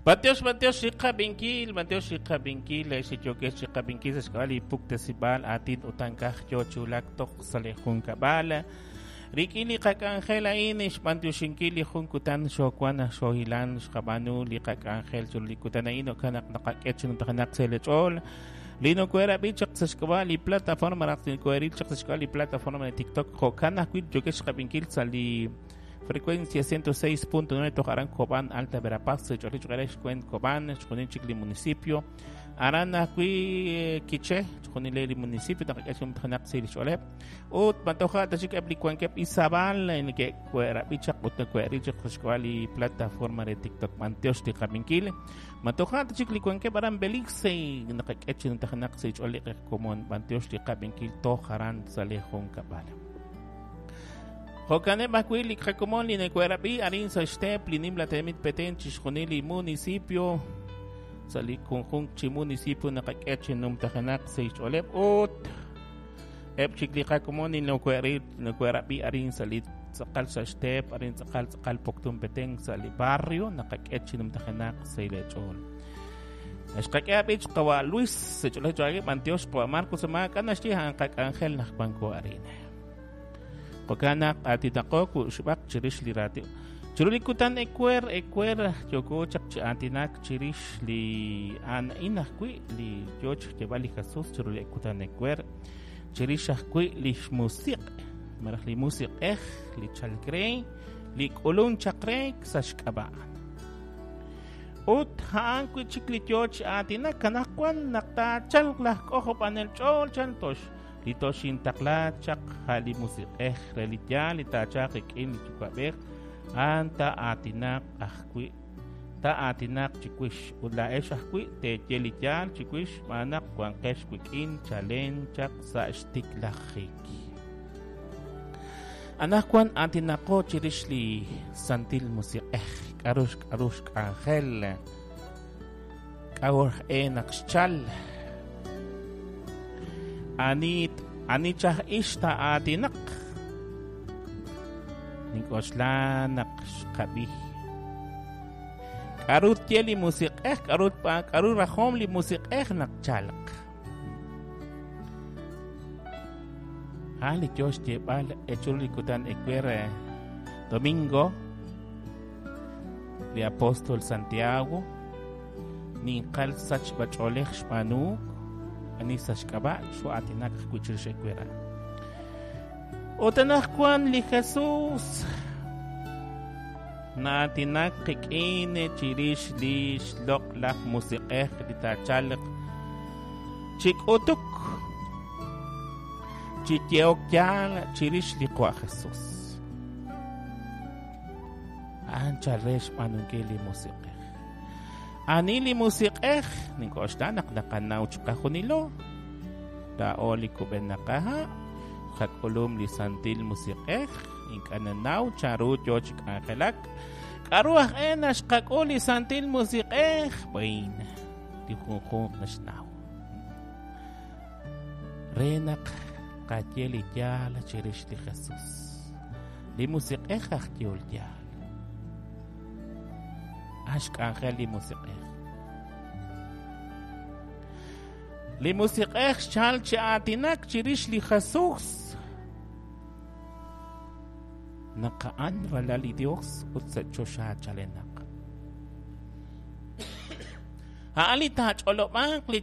B'antiox, b'antiox li qab'inkil, b'antiox li qab'inkil, li yookex chi qab'inkil sa' xk'ab'a' li puktesib'aal aatin ut ankaj yoo chi wulak toj sa' li junkab'al. Rik'in li qak'anjel a'in xb'antioxinkil li jun kutan xoowan xoohilan xqab'aanu li qak'anjel chiru li kutan a'in jo'kan naq naqak'e chi numtajenaq sa' li ch'ool. Li nokoherab'i chaq sa' xk'ab'a' li plataforma malaj nokoheril chaq sa' xk'ab'a' li plataforma de TikTok jo'kan ajwi' yookex xqab'inkil sa' li frecuencia 106.9 toj aran Cobán, Alta Verapaz, ch'olij ch'olej xkwent Cobán, xjunil chik li municipio. Aran ajwi' Quiché, xjunil li municipio naqak'e chi numtajenaq sa' li xch'ooleb'. Ut matoja' ta chik eb' li wankeb' Izabal neke'we'rab'i chaq ut neke'ril chaq sa' xk'ab'a' li plataforma re TikTok b'antiox li qab'inkil. Matoja' ta chik li wankeb' aran Belice naqak'e chi numtajenaq sa' xch'ool li qakomon b'antiox li qab'inkil toj aran sa' li junkab'al. Jo'kaneb' ajwi' li qakomon li neke'rab'i arin sa' xteep li nimla tenamit Petén chixjunil li municipio sa' li junjunq chi municipio naqak'e chi numtajenaq sa' xch'ooleb' ut eb' chik li qakomon li neke'rab'i arin sa' li tz'aqal sa' xteep arin tz'aqal tz'aqal Poptún Petén sa' li barrio naqak'e chi numtajenaq sa' li ch'ool. Xqak'e ab'ich qawa' Luis sa' ch'oolej ch'oolej b'antiox qawa' Marcos maak'a' naxye a'an qak'anjel naq wanko arin. Jo'kan naq aatinaqo ku'xb'aq chirix li raatin. Chiru li kutan ewer, ewer yooko chaq chi aatinak chirix li a'an ajwi' li yoo chi xyeeb'al li Jesus chiru li kutan ewer, chirix ajwi' li xmusiq', malaj li musiq'ej li chalk re, li k'ulun chaq re sa' xk'ab'a'. Ut a'an wi' chik li yoo chi aatinak anaqwan naq taachalq laj k'ojob'anel ch'ool chan tox li toxintaqla chaq a' li musiq'ej re li yaal li taachalq rik'in li Yuwa'b'ej, a'an taa'aatinaq ajwi' taa'aatinaq chiwix ut laa'ex ajwi' teeye li yaal chiwix xb'aan naq wanqex wik'in chalen chaq sa' xtiklajik. Anaqwan aatinaqo chirix li Santil Musiq'ej, k'aru k'aru xk'anjel, k'aru aj e naq xchal, ani ani chaj ix taa'aatinaq. Nink'oxla naq xqab'i. K'aru tye li musiq'ej, k'aru k'aru rajom li musiq'ej naq chalq. A'an li yoo xyeeb'al chiru li kutan ewer domingo li apóstol Santiago ninqal sachb'ach'oolej xb'aanuuk ani sa' xk'ab'a' xoo'aatinak ajwi' chirix ewer a'an. Ut anaqwan li Jesus na'aatinak qik'in chirix li xloq'laj musiq'ej li taachalq chi k'utuk chi yehok yaal chirix li Qawa' Jesus. A'an chal re xb'aanunkil li musiq'ej. Ani li musiq'ej? Nink'oxla naq naqanaw chiqajunilo. Laa'o li kub'enaq qaha', qak'ulum li Santil Musiq'ej, ink'a' nanaw chanru yoo chi k'anjelak. K'aru aj e naxqak'ul li Santil Musiq'ej? Bueno, li junjunq naxnaw. Re naq qaye li yaal chirix li Jesus. Li Musiq'ej aj yehol yaal. A xk'anjel li Musiq'ej. Li Musiq'ej xchal chi aatinak chirix li Jesus. Naq a'an ralal li Dios ut sa' choxa chalenaq. A'an li taach'olob'anq li